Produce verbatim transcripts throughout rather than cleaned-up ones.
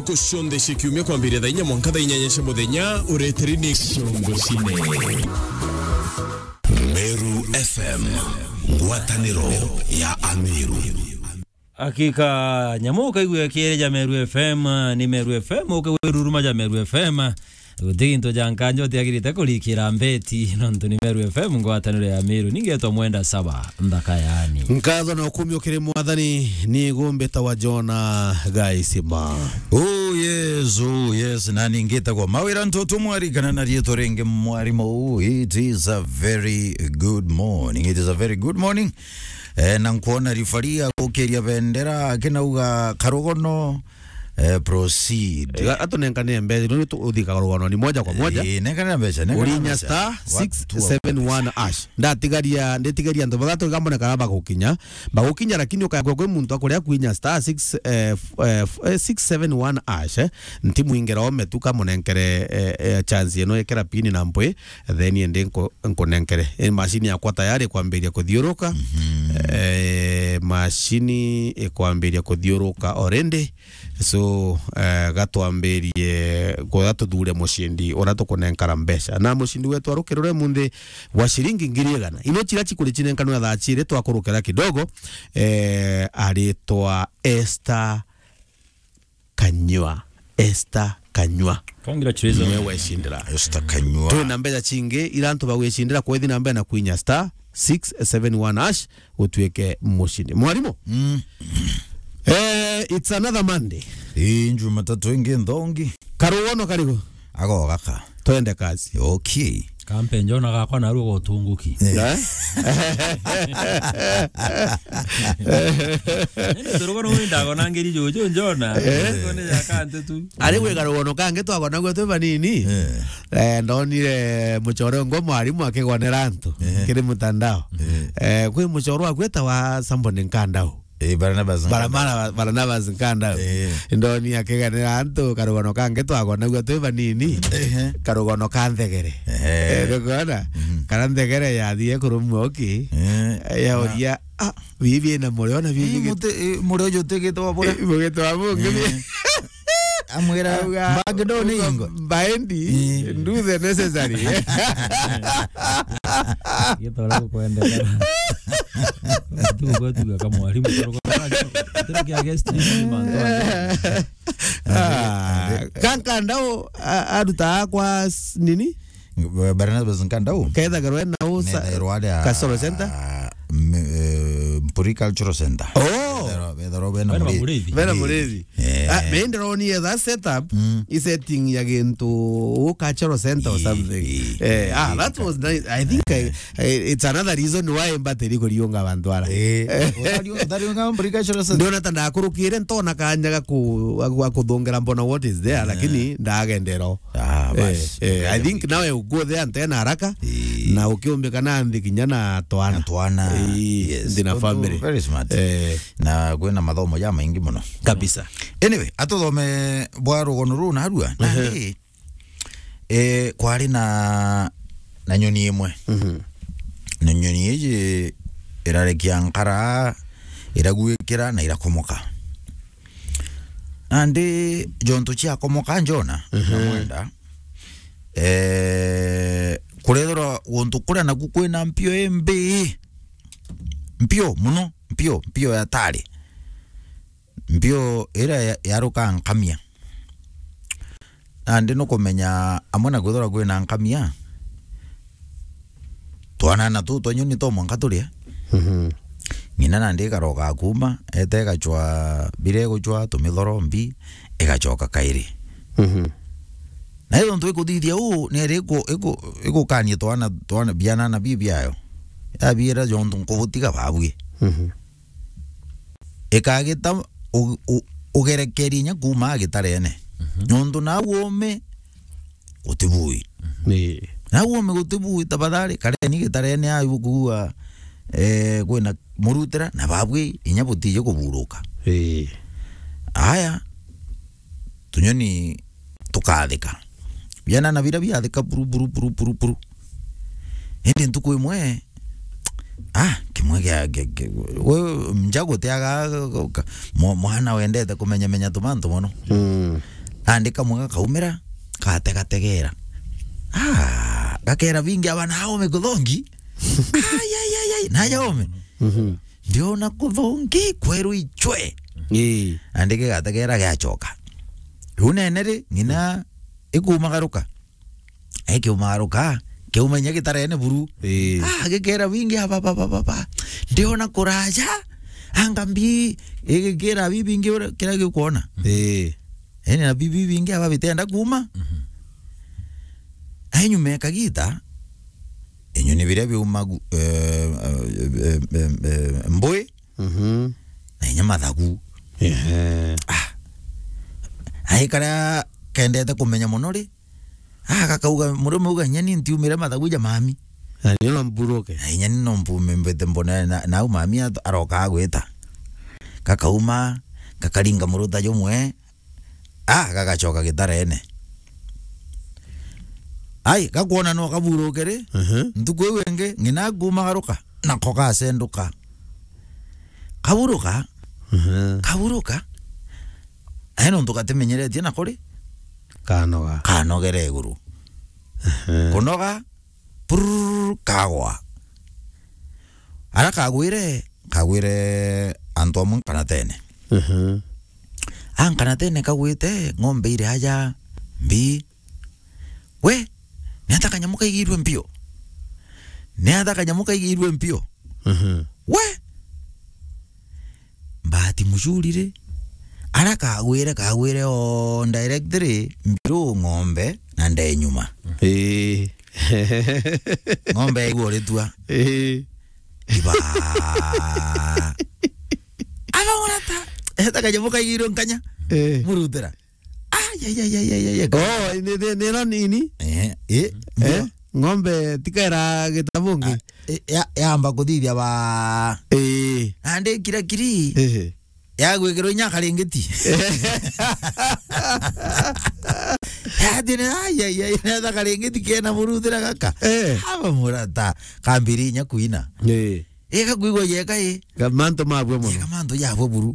Ntuku cionthe cia kiumia kwambiria thaa inya mwanka thaa inyanya cia muthenya, ureteri ni Ciongo Cine. Meru F M, ngwataniro ya Ameru. Hakika, nyamu ukaigua kiere ja Meru F M, ni Meru F M, ukawiruruma ja Meru F M. Guti gintu ja nkanja utiagirite kurikira mbeti, nontu ni Meru F M, ngwataniro ya Meru. Ningetwa Mwenda Saba, nthaka yani. Nkatho na ukumi ukiri Mwathani, ni gumbita wa Jona Gaisima. Oh yes, oh yes, na ningitagwa Mawira Ntutu Mwari, kana na riitwa ringi Mwarimu. It is a very good morning, it is a very good morning. Eh, na nkwona rifari agukiria bendera, akinauga, "Karugono, eh, proceed." Eh, ga-, atunenkanie mbeca, ndio tu-, uthi karugono ni moja kwa moja. Eh, nenkania mbeca, nenkania Urinya mbeca. Star Watu wa six seven one hash. Ndatigaria, nditigaria antu bathatu iga mbonekana bagukinya. Bagukinya, lakini ukagwa kwi muntu akuria kwinya star six, eh, f-, eh, f-, eh, six seven one hash, eh. Nti mwingera ome tu kamunenkere, eh, eh, chance ino ikira pini na mpwi. Then indi nku-, nkunenkere. Eh, machine yakwa tayari kwambiria kuthiuruka. Mhm. Eh, machine ikwambiria kuthiuruka already. So, eh, gatwambirie, kwega tuthure mucindi uria tukunenkara mbeca. Na mucindi wetu arukirure munthi wa ciringi ngiri igana. Ino cira cikuri cinenkanwa thaa ciri twakurukira kidogo, eh, aritwa Esther Kanyua. Esther Kanyua. Congratulations. Niwe wecindira. Esther Kanyua. Twina mbeca cingi, ira antu bagwicindira kwethi na mbere na kwinya star six seven one hash, utuike mucindi. Mwarimu? Mm. Eh, it's another Monday. Ii, Jumatatu ingi nthongi. Karugono karigu? Ago gaka. Twende kazi. Okay. Kampe njona gakwa narua gotunguki. Eh? Eh? Nini turugo nwi ndagona ngiri juju njona? Eh? Ngone ya kantu tu. Ari gwi karugono kangi twagonagua twi banini. Eh. Eh, ndonire muchoro ngo mwarimu akigonera antu Eh. kiri mutandao. Eh. Eh, kwi muchoro agwetawa somebody Nkandau. Eh, Barnabas Nkandau. Bara-, Bara-, Barnabas Nkandau. Eh. Ndoni akiganira antu karugono kangi twagonagua twi banini. Ehe. Karugono ka nthegere. Ehe. Eh, nikuona? Mhm. Kana nthegere yathie kurumwa uki. Eh. Yauria, "Ah, bibi ina murio na bibi." Eh, git-, muti-, eh, murio jutigitwa bura. Eh, mugitwa bungi. Eh. Amwira, auga, "Back door ni ingo." Baendi, eh, do the necessary. Gitore gukwendekana. Tu gwetu ga kamwarimu, toro kwa, toro kia guest ni mantu aya. Ah, Kankandau, a-, aruta kwa s-, nini? Barnabas Nkandau. Kethagirwa na usa-, Nethagirwa aria Kasoro Center? M-, eh, Mpuri Cultural Center. Oh! Bethagirwa, bethagirwa bena Bena Murithi. Murithi. Bena Murithi. Eh. Ah, me ndiro ni etha setup, Mm. i setting ya gintu u Cultural Center or Ii, something. Ii, Eh, ah, ii, that ka- was nice. I think I, I, it's another reason why mbatiri kuriunga bantu ara. Eh, Eh. Utari-, utariunga Mpuri Cultural Center? Ndiona ta ndakurukire ntona kanya ga ku-, ga ku-, ga kuthongera mbona what is there, Eh. lakini ndagendero. Ah, Eh, basi. eh, I think nawe uguo the antena haraka, Ii. na ukiumbika na nthi kinya na twana. Na twana. Ii, Yes. nthi na Tontu family. Very smart. Eh. Na kwina mathomo ja maingi muno. Kabisa. Anyway, atuthome bwa rugono ruu narua. Ehe. Nandi, eh, kwari na, na nyoni imwe. Mhm. Na nyoni iji irarekia nkara, iragwikira na irakomoka. Nandi jontu ciakomoka njona, Mhm. na Mwenda, eh, kurethirwa guntu kuria naku kwina mpio imbi. Mpio muno, mpio, mpio ya tari. Mpio iria ya-, yarukaa nkamia. Nandi nukumenya amwe na kwithirwa kwina nkamia, twanana tuu twa nyoni to mwanka turie. Mhm. Ng'ina nandi ikaroka kuuma, ete igacwa biria igucwa, tumithorombi, igacoka kairi. Mhm. Na ithontu ikuthithia uu, nieri iku-, iku-, igukania twana, twana bianana bii biayo. Yabiira jontu nkubutiga babui. Mhm. Ikagita u-, u-, ugerekerie inya kuuma gitarene. Mhm. Nontu nau uume gutibui. Ii. Nau uume gutibui, tafadhali, kareni gitarene au kuua, eh, kwina murutira, na babui inya butiji kuburuka. Ii. Aya, tunyoni tukathika. Bianana biria biathika buru, buru, buru, buru, buru. Indi ntuku imwe, ah, kimwe kia, kia, kia, we, njagu tiaga, ka-, mwa-, mwana wendete kumenyamenya tumantu mono. Mm. Nandi kamwe gakaumira, gategategera. Ah, gakera bingi aba na aume kuthongi. Ai, ai, ai, ai, na aume. Mhm. Ndiona kuthongi kweru ichwe. Ii. Nandi gigategera giachoka. Riu nene ri, ng'ina ikumagaruka. Ikiumagaruka, kiuma inya gitarene buru. Ii. Ah, gikera bingi, aba, ba, ba, ba, ba. Ndiona kuraja, anga mbi, igikira bi bingi uria, kiria giukwona. Ii. Eni na bi, bi bingi aba bitenda kuuma. Mhm. Ai nyuma ya kagita, inyoni biria biuma gu-, eh, eh, eh, eh, eh, mbui, Mhm. na inya mathagu. Ehe. Ah. Ai karia kendete kumenya mono ri, ah, gakauga, murume auga, "Inya ni ntiumire mathagu ja mami." Na ni no mburuke. Na inya ni no mpume mbete mbone na, nau mami at-, aroka agwita. Gakauma, gakaringa muruta jumwe, ah, gagachoka gitarene. Ai, gakwona no kaburuke ri, Mhm. ntuku iu ingi, ng'ina kumagaruka, nako gasenduka. Kaburuka, Mhm. kaburuka, ai nontu gatimenyeretie nako ri, Kanoga. kanogere iguru. Mhm. Kunoga, prrrr, kagwa. Ara kagwire, kagwire antu amwe nkanatene. Mhm. A nkanatene kagwite, ng'ombe iri aja, mbi. We, ni ata kanyamu kaigirwe mpio? Ni ata kanyamu kaigirwe mpio? Mhm. We! Bahati mzuri ri, ara kagwire, kagwire o direct ri, mbiru ng'ombe na nde nyuma. Ii. Ng'ombe yaigua uritua. Ii. Iba. Aba murata. Eta kanyamu kaigirwe nkanya. Ii. Murutira. Ai, ai, ai, ai, ai, ai, ai. Oh, ni, ni, ni ro nini? Eh, eh, Eh? ndio. Ng'ombe tikaira gitabungi? Ah, eh, ya, yamba kuthithia ba. Eh. Nandi kira kiri. Eh. Ya gwikirwo inya karingiti. Yathire, ai, ai, ai, netha karingiti kena muruthira gaka. Eh. Aba murata, kambiri inya kuina. Eh. Ika kwigwa yeka i. Ga mantu mabwe mono. Yeka mantu yabwe buru.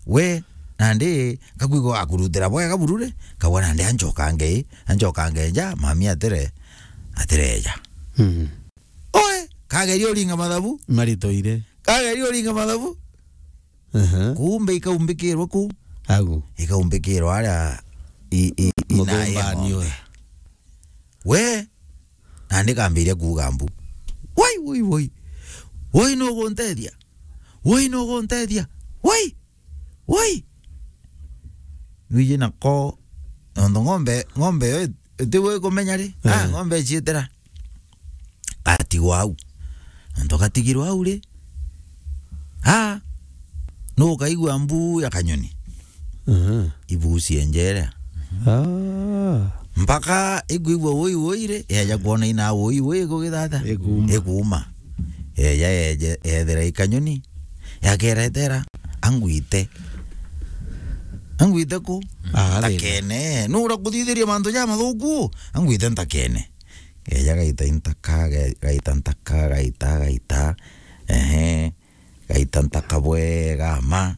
We, nandi, ngakwigwa akurutira bwega buru ri, kagwa nandi anchokange i, anchokange nja, mami atire, atireja. Mm. Oe, kageria uringa mathabu. Maritoire. Kageria uringa mathabu. Aha. Kumbe ikaumbikirwa ku. Agu. Ikaumbikirwa aria i, i, i, Muthumbani naye ng'ombe. Oe. We, nandi kambiria kuuga mbu. Woi, woi, woi. Woi, nuguntethia? Woi, nuguntethia? Woi! Woi! Nwiji nako, nontu ng'ombe, ng'ombe yo iti-, itiwe ikumenya ri? Ah, eh, ng'ombe iciitira. Gatigwa au. Nontu gatigirwe au ri? Ah, nukaigua mbu ya kanyoni. Mhm. Ibuci enjere. Ah. Mpaka ikwigua woi woi ri, eja kwona ina woi woi igugithata. Ikuuma. Ikuuma. Eja eje, ethira ikanyoni. Yakeretera, angwite. Angwite ku? Ah, thina. Ntakene. Nura kuthithiria mantu ja mathuku? Angwite ntakene. Eja gaita intaka, ge-, gaita ntaka, gaita, gaita. Ehe. Gaita ntaka bwega ma.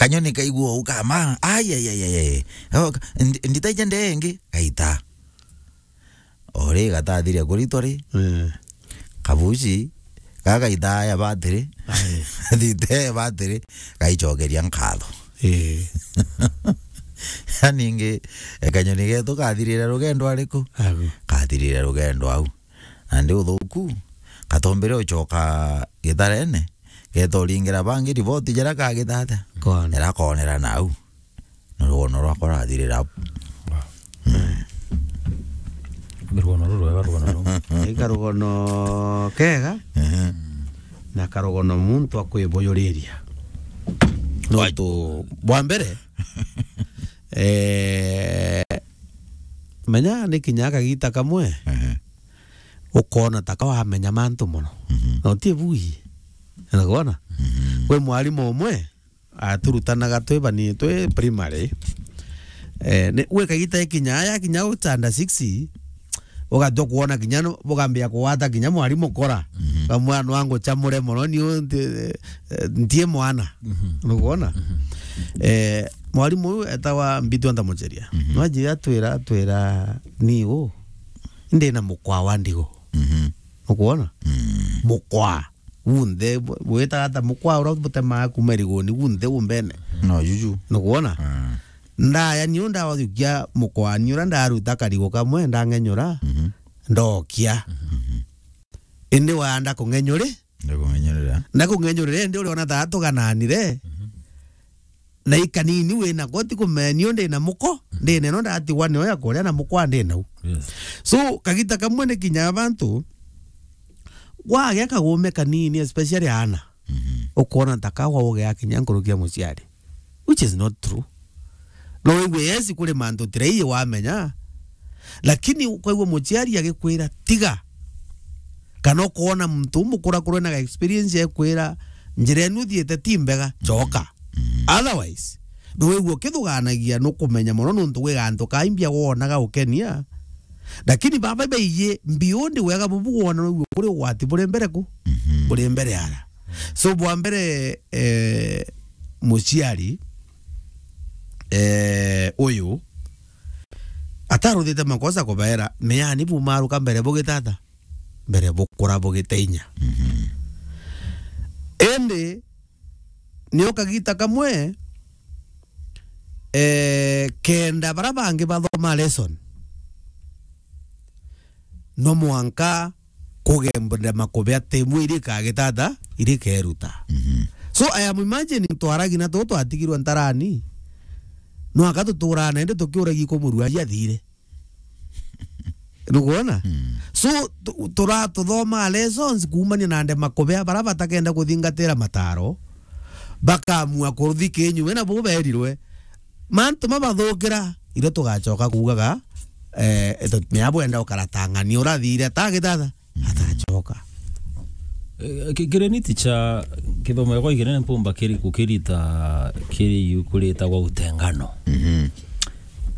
Kanyoni kaigua uu kama. Ai, ai, ai, ai, ai. Oh, ka-, ndi-, nditaija ndee ingi? Gaita. O ri gatathiria kuritwa ri, eh, kabuci, gagaita ya batiri. Ai. Thite ya batiri, gaichokeria nkatho. Eh. Ningi, e, kanyoni getu kathirire rugendo ariku? Agu. Kathirire rugendo au. Nandi uthuku, katombire uchoka gitarene, geta uringira bangi riboti jara kagitata. Kona. Jara konera nau. Na rugono rwakwa rurathirira au. Wow. Mm. Ni rugono rurwega, rugono ru. Ni karugono kega, ehe, na karugono muntu akwibuyuriria. Nontu bwa mbere, eh, menya ni kinya kagita kamwe, ehe, ukona taka wamenya mantu mono. Mhm. Na uti bui. Unaona? Mhm. Kwi mwarimu umwe, aturutanaga twi bani, twi primary. Eh, ni, gwi kagita ikinya, yakinya u standard six, ugatua kwona kinya no, bugambia kugwata kinya mwarimu kora. Mhm. Kamwana wangu chamure mono, ni u-, nti-, eh, ntie mwana. Nukwona? Eh, mwalimu uyu etawa Mbitu Antamucheria. Nwaji atwira, atwira, "Ni u, ndi na mukwa wa ndigo." Nukwona? Mukwa. Gunthe, bu-, bwitaga ata mukwa ura butemaa kuma iriguni, gunthe umbene. No, juju. Nukwona? Ndaya niu ndajukia mukwani ura ndaruta karigo kamwe, ndang'enyura, ndokia. Indi waya ndakung'enyuri? Ndakung'enyurira. Ndakung'enyurira, indi uriona ta tugananire. Na ikanini wina ko, ti kumenya niu ndi na muko, ndi neno ndatigwa nio ya kuria na mukwa ndi nau. Yes. So, kagita kamwe ni kinya bantu, gwagea kagume kanini, especially aana. Ukwona ta kawa ugea kinya nkuruki ya muciari. Which is not true. No wigwe, yes, kuri mantu tirai wamenya, lakini ukaigua muciari agikwira, "Tiga." Kana ukoona muntu umukurakurwe na experience ekwira, "Njira enu thiite ti mbega, coka." Otherwise, no wigwe ukithuganagia, nukumenya mono nuntu gwi gantu kaimbia wonaga ukenia. Lakini baba baiji mbiu ndi wega bubu wona no wigwe kuri ugwati buri mbere ku? Buri mbere ara. So, bwa mbere, eh, muciari, eh, uyu ataruthite makosa kubaera, meani bumaruka mbere bugitata, mbere bukura bugiteinya. Indi, nio kagita kamwe, eh, kenda bara bangi bathoma lesson. No mwanka kugemba makubea timu iri kagitata, iri keruta. So, I am imagining twaragi na tu twatigirwe ntarani. No aka tuturana indi tukiuragi kumurua athire. Nukwona? So, tu-, tura-, tuthoma lessons kuumania na ndema kubea bara batakenda kuthingatira mataro, bakamua kuruthi kinyume na bu berirwe. Mantu mabathukira, irio tugacoka kuugaga, eh, eto-, mea bwenda ukaratang'ania urathire atagithatha, atacoka. Eh, ki-, kiri ni ticha, kithomo gikwa kinene mpumba kiri kukirita kiri iu kuritagwa utengano.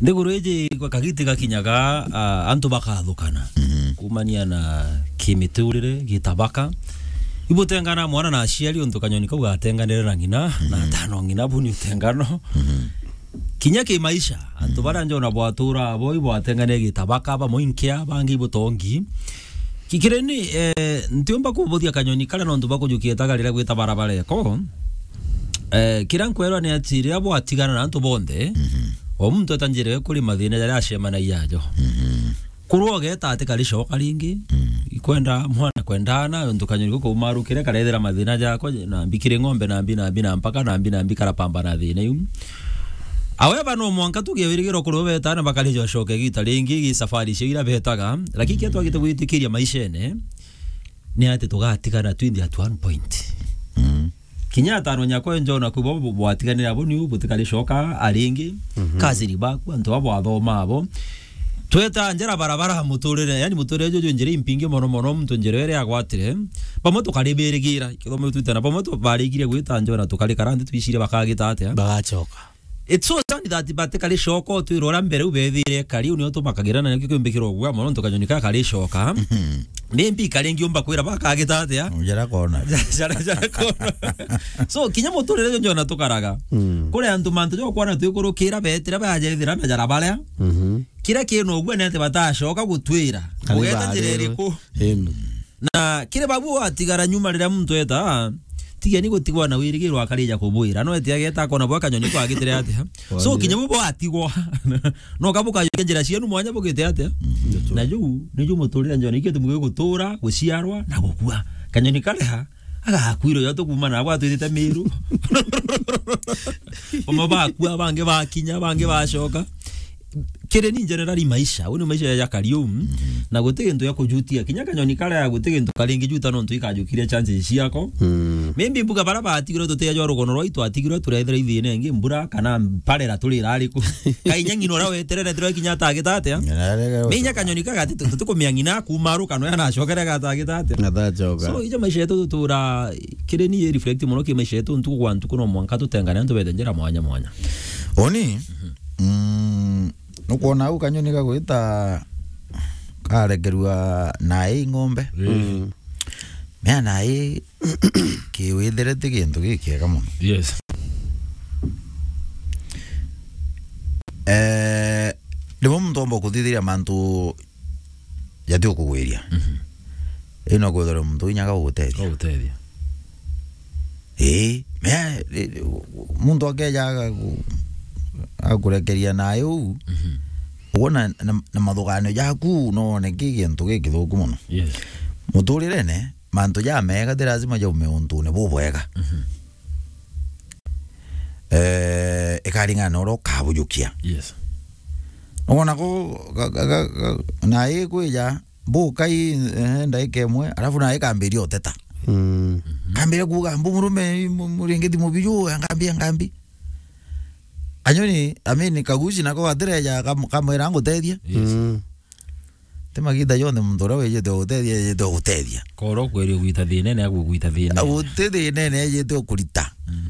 Nthiguru iji gwa kagiti gakinyaga, ah, antu bakathukana. Kumania na kimiturire, gitabaka. Ibutengana mwana na aciari untu kanyoni kau gatenganire na ng'ina, na atano ng'ina bu ni utengano. Kinya ki maisha, antu baria njona bwatura abo ibwatenganire gitabaka, bamwe inkia, bangi ibutongi. Kikireni, eh, ntiumba kubuthia kanyoni karia nontu bwa kujukia itaga riria gwita barabara eko. Eh, kiria nkwerwa ni ati riria bwatigana na antu bonthe, o muntu eta njira kuri mathina jaria acemanagia ajo. Kurwa ugeta ati karicoka ringi, ikwenda mwana kwendana, untu kanyoni guku umarukire karethira mathina jako, na mbi kiri ng'ombe, na mbi, na mbi, na mpaka, na mbi, na mbi karapamba na thina iu. However, no mwanka tugie wirigiro kuri ubetana bakari jocoke gita ringi gi safari cio ira betaga, lakini kia twagite gwitikiria maishene, ni ati tugatigana twinthe at one point. Kinya atano nyakwa njona kwi bo bwatiganira abo niu butikari coka aringi, kaziri baku, antu abo athoma abo. Tweta njira barabara muturire, yani muturire juju njira impingi mono mono, muntu njira iria agwatire. Bamwe tukaribirigira, kithomo twitana, bamwe tu-, barigire gwita njona tukarikara nthi twicire bakagita atia? Bagacoka. It's so sad that batikari coka utwira uria mbere u bethire kari, u nio tubakagirana nakio kiumbikirwo gwa mono, ntu kanyoni ka kari coka. Ni mbi kari ngiumba kwira bakagita atia? Njara kona. Njara, njara kona. So, kinya muturire uju njona tukaraga. Kuri antu mantu jo kwana twikurukira betira bajethira majara baria. Kiria kina ugua ni ati batacoka gutwira. Kana ugeta njira barirwe iriku? Imi. Na kiri babu atigara nyuma riria muntu eta, tigeni gutigwa na wirigiro akarija kubwira. No eti ageta akona bwa kanyoni kwagitire atia. So, kinya bu bwatigwa. No kabukajukia njira cienu mwanya bugite atia. Na ju, ni ju muturire njona ikio tumugi gutura, guciarwa, na gukua. Kanyoni karia, agakwirwo yo tukuma na bwa twithite Miru. Bamwe bakua, bangi bakinya, bangi bacoka. Kiri ni generally maisha, uni maisha ya kariu, na guti gintu ya kujutia. Kinya kanyoni karia guti gintu karingi juta nontu ikajukiria chances ciako. Maybe mbuga bara batigirwe tutia jwa rugono rwaitu atigirwe turethira ithina ingi mbura kana mparera turira ariku. Kainya ng'ina uria weterere tiro kinya atagita atia? Minya kanyoni kagati tu-, tukumia ng'ina kuma aru kana ya nacokere gatagita atia? Atacoka. So, ija maisha yetu tutura, kiri ni reflect muno ki maisha yetu ntuku kwa ntuku no mwanka tutengane antu bete njira mwanya mwanya. Oni? Mm, nukwona au kanyoni gagwita karekerua na i ng'ombe. Mm. Mea nai kiwithire ti gintu gikiega mono. Yes. Eh, rimwe muntu omba kuthithiria mantu jati ukugwiria. Mhm. Ino kwithirwa muntu inyaga ugutethia. Ugutethia. Ii, mea, ri-, ri-, muntu akeja agaku-, agakurekeria nayo uu, mhm, uguo na, na, na mathuganio jaku, no wone ki gintu gikithuku mono. Yes. Muturirene, mantu jamega ti lazima jaume untune bubwega. Mhm. Eh, ikaringana na uria ukabujukia. Yes. Nugona ku, ga, ga, ga, ga, na ikwija, mbukai, eh, ndaika imwe, alafu na ikambiria uteta. Mm. Kambiria kuuga, "Mbu murume, mu-, muringiti mubiju, ngambi, ngambi." Anyoni, amini kaguci nako gatireja kam-, kamwira ngutethia. Yes. Mm. Ti magita jonthe muntu uria wijite gutethia, ejite gutethia. Koro kweri ugwita thina, ne agwita thina. Uti thina, ne ejite ukurita. Mm.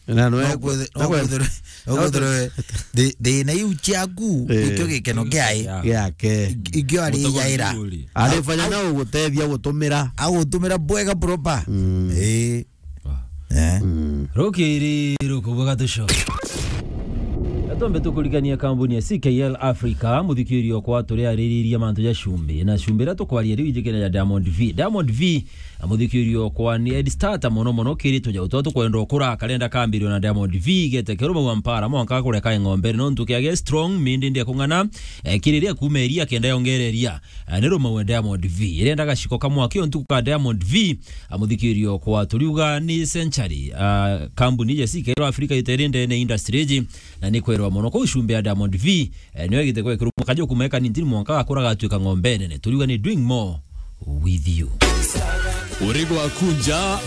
Na no No ekwe-, kwithe-, no no kwe-, kwithirwe, no no kwithirwe thi-, thina iu ciaku, eh, ikio gikeno kiae. Yeah. Giake. Ik-, ikio ari Gutagwa jaira. Ari fanya na ugutethia gutumira. Agutumira bwega proper. Mm. Eh. Wow. Eh. Mm. Rukiri rukubuga tucoke. Atombe tukurikania kambuni ya C K L Africa, muthikirio kwa turi aririria mantu ja cumbi. Na cumbi ira tukwaria riu ijikene ya Diamond V. Diamond V Amuthikirio kwa ni Ed Starter mono mono kiri tujau twa tukwenda ukura karenda kambirio na Diamond V gete keru mau ampara mwanka kureka ng'ombe no ntu kiage strong mindi ndia kung'ana, eh, kiriria kumeria kenda yongereria, eh, ni rumau Diamond V irenda gaciko kamwa kio ntuku ka Diamond V. Amuthikirio kwa turiuga ni Century, ah, kambuni je sikero Africa iterinde ne industry ji na ni kwerwa mono kwa ucumbe ya Diamond V. Eh, nio igite kwekirwo mwaka jo kumeka ni ntini mwanka gakura gatuika ng'ombe nene. Turiuga ni doing more with you. Uri gwakunja